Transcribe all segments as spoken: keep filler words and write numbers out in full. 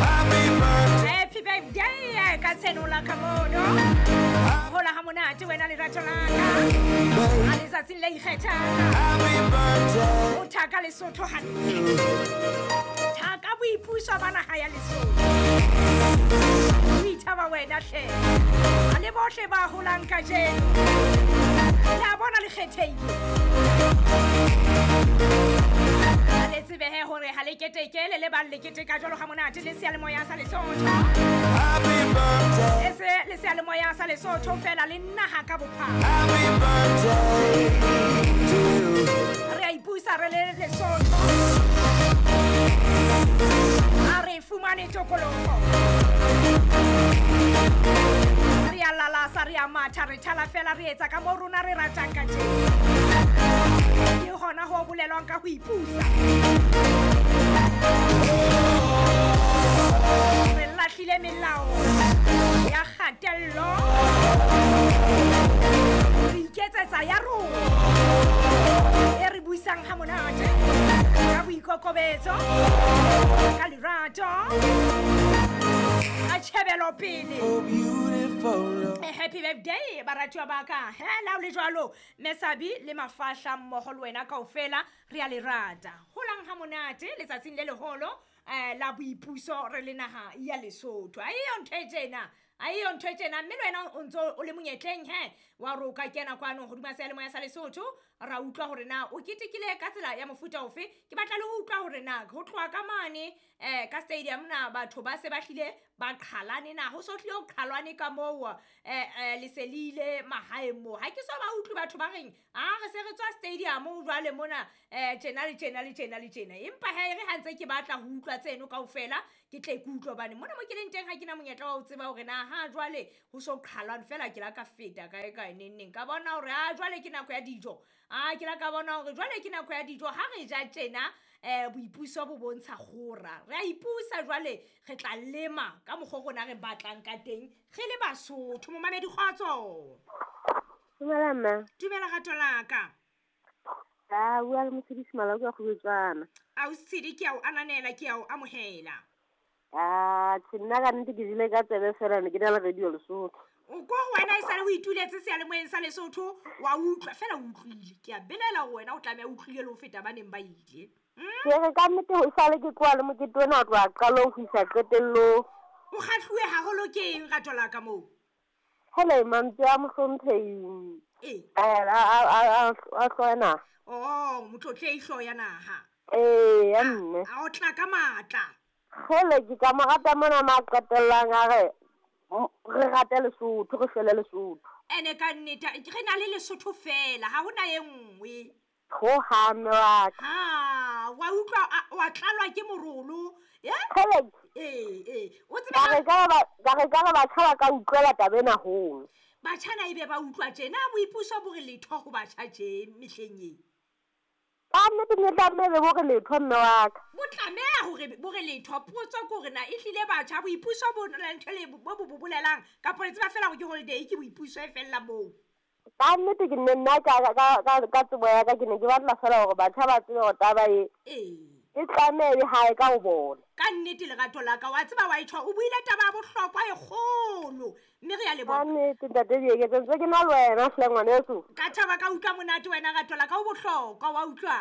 Happy birthday. Happy birthday ka tshenola ka mono. Hola ha monate wena lerato la ka. A letsatsing le ikgethang. Happy birthday. O thaka Lesotho hantle. Thaka boipuso ba naha ya Lesotho. O ithaba wena hle. A le bohle ba holang kajeno. Le a bona le kgethehile. A le tsebe he hore ha le keteke le le bang le keteka jwalo ha monate le seyalemoya sa Lesotho. Happy birthday. E se le seyalemoya sa Lesotho fela le naha ka bophara. Happy birthday to you. Re a ipusa re le Lesotho. A re fumane tokoloho. Re a lalasa, re a matha, re thala fela, re etsa ka moo rona re ratang ka teng. Ke hona ho bolelwang ka ho ipusa. Re lahlile melao ya kgatello. Re iketsetsa ya rona e re buisang ha monate ka boikokobetso, ka lerato, ka tjhebelopele. Oh, beautiful. Eh, happy birthday baratuwa ba ka. He la o le jwalo Mesabi le mafahla mmoho le wena kaofela re a le rata. Holang ha monate letsatsing le leholo eh la boipuso re le naha ya Lesotho. A eyo ntho e tjena, a eyo ntho e tjena mme le wena o ntso o le monyetleng he wa re o ka kena kwano hodima seyalemoya sa Lesotho ra utlwa hore na o ketekile ka tsela ya mofuta ofe. Ke batla le ho utlwa hore na ho tloha ka mane eh ka stadium na batho ba se ba hlile ba qhalane na ho so hlile ho qhalwane ka moo eh eh le se le ile mahaeng moo. Ha ke so ba utlwe batho ba reng a re se re tswa stadium jwale mona eh tjena le tjena le tjena le tjena. Empa he re ha ntse ke batla ho utlwa tseno kaofela ke tle ke utlwe hobane mona mo ke leng teng ha ke na monyetla wa ho tseba hore na ha jwale ho so qhalwane fela ke la ka feta kae kae neng neng ka bona hore ha jwale ke nako ya dijo. A ke la ka bona hore jwale ke nako ya dijo ha re ja tjena eh boipuso bo bontsha kgora. Re a ipusa jwale re tla lema ka mokgwa o rona re batlang ka teng re le Basotho. Momamedi kgotso. Dumela mma. Dumela rato la ka. A bua le Motshedisi Malako wa Kgobetswana. Ausi ke a o ananela, ke a o amohela. Ah, tjhe nna ka nnete ke jele ka tsebe fela ne ke na le radio Lesotho. O ko ho wena e sale o ituletse seyalemoyeng sa Lesotho wa utlwa fela o utlwile. Ke a belaela hore wena o tlameha o utlwile le ho feta ba neng ba ile. Ke re ka nnete ho sale ke tloha le mokete ona ho tloha qalong ho isa qetellong. O kgahluwe haholo ke eng rato la ka moo? Hele mantswe a mohlomphehi. Ee. A a a a hloya naha. Oh, motlotlehi hloya naha. Ee, ya mme. A o tla ka matla. Hele ke ka mo rata mona ma qetellang a re re rate Lesotho, re shwele Lesotho. Ene ka nnete re na le Lesotho fela, ha hona e nngwe. Ho ha mme wa ka. Ha, wa utlwa wa tlalwa ke morolo. Eh? Hele. Ee, ee. O tsebe Ka re ka ba ka re ka re batjha ba ka utlwela taba ena holo. Batjha na ebe ba utlwa tjena boipuso bo re letho ho batjha tje mehleng e. Ka nnete ne tlameha bo re letho mme wa ka. Bo tlameha hore bo re letho. Potso ke hore na ehlile batjha boipuso bo na le ntho le bo bo bolelang kapa le tseba fela hore ke holiday ke boipuso e fella moo. Ka nnete ke nne nna ka ka ka ka tsebo ya ka ke ne ke batla fela hore batjha ba tsebe hore taba e Ee. e tlameha e hae ka ho bona. Ka nnete lerato la ka wa tseba wa itjho o buile taba ya bohlokwa e kgolo mme re a leboha. Ka nnete ntate Dieketseng ntse ke na le wena hle ngwaneso. Ka thaba ka utlwa monate wena rato la ka o bohlokwa wa utlwa.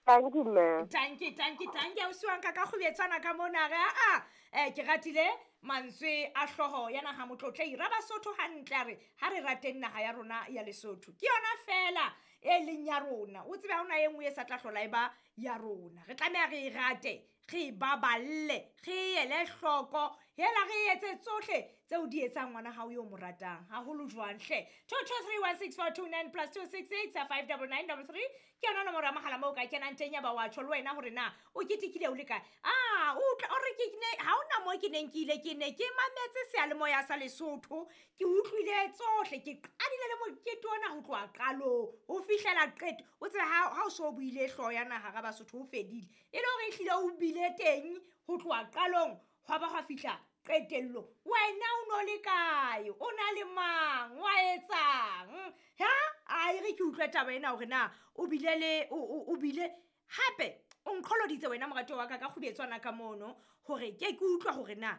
Thank you ma'am. Thank you, thank you, thank you. Ausi wa nka ka kgubetswana ka mona re a eh ke ratile mantswe a hlooho ya naha motlotlehi ra Basotho hantle a re ha re rateng naha ya rona ya Lesotho. Ke yona fela e leng ya rona. O tsebe ha hona e nngwe e sa tla hlola e ba ya rona. Re tlameha re e rate, re e baballe, re e ele hloko, hela re etse tsohle tseo di etsang ngwana hao yo mo ratang haholo jwang hle. two two three one six four two nine plus two six six five double nine double three ke yona nomoro ya mohala moo o ka kenang teng ya ba wa tjho le wena hore na o ketekile o le kae. Ah, o utlwa o re ke ne ha hona moo ke neng ke ile ke ne ke mametse seyalemoya sa Lesotho, ke utlwile tsohle, ke qadile le mokete ona ho tloha qalong ho fihlela qeto. O tsebe ha ha o so buile hlooho ya naha ra Basotho ho fedile e le hore ehlile o bile teng ho tloha qalong hwa ba hwa fihla qetellong. Wena o no le kae? O na le mang? Wa etsang? Ha? A e re ke utlwe taba ena hore na o bile le o o bile hape O nqholoditse wena moratuwa wa ka ka kgubetswana ka mono hore ke ke utlwa hore na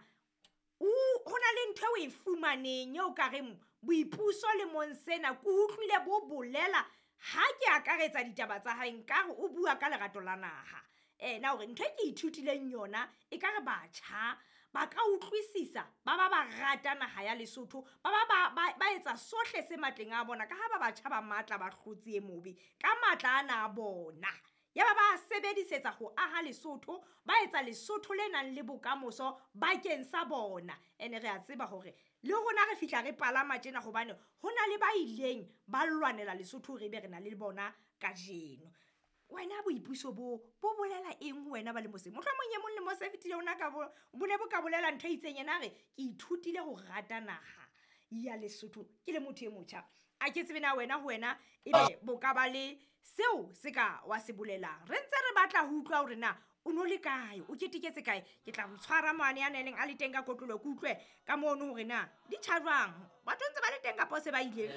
o ho na le ntho eo o e fumaneng eo ka reng boipuso lemong sena ke utlwile bo bolela ha ke akaretsa ditaba tsa hae nkare o bua ka lerato la naha. Ena hore ntho e ke ithutileng yona e ka re batjha ba ka utlwisisa ba ba ba rata naha ya Lesotho ba ba ba ba ba etsa sohle se matleng a bona ka ha ba batjha ba matla ba hlotse e mobe ka matla ana a bona. Ya ba ba sebedisetsa ho aha Lesotho, ba etsa Lesotho le nang le bokamoso bakeng sa bona. Ene re a tseba hore le rona re fihla re palama tjena hobane ho na le ba ileng ba lwanela Lesotho re be re na le bona kajeno. Wena boipuso bo bo bolela eng ho wena ba le mose? Mohlomong e mong le mose fetile ona ka bo bo ne bo ka bolela ntho e itseng yena a re ke ithutile ho rata naha ya Lesotho ke le motho e motjha. A ke tsebe na wena ho wena ebe bo ka ba le seo se ka wa se bolelang. Re ntse re batla ho utlwa hore na o no le kae, o keteketse kae. Ke tla mo tshwara mane ya neng a le teng ka kotlolo ke utlwe ka mono hore na di tjha jwang. Batho ntse ba le teng kapa se ba ile.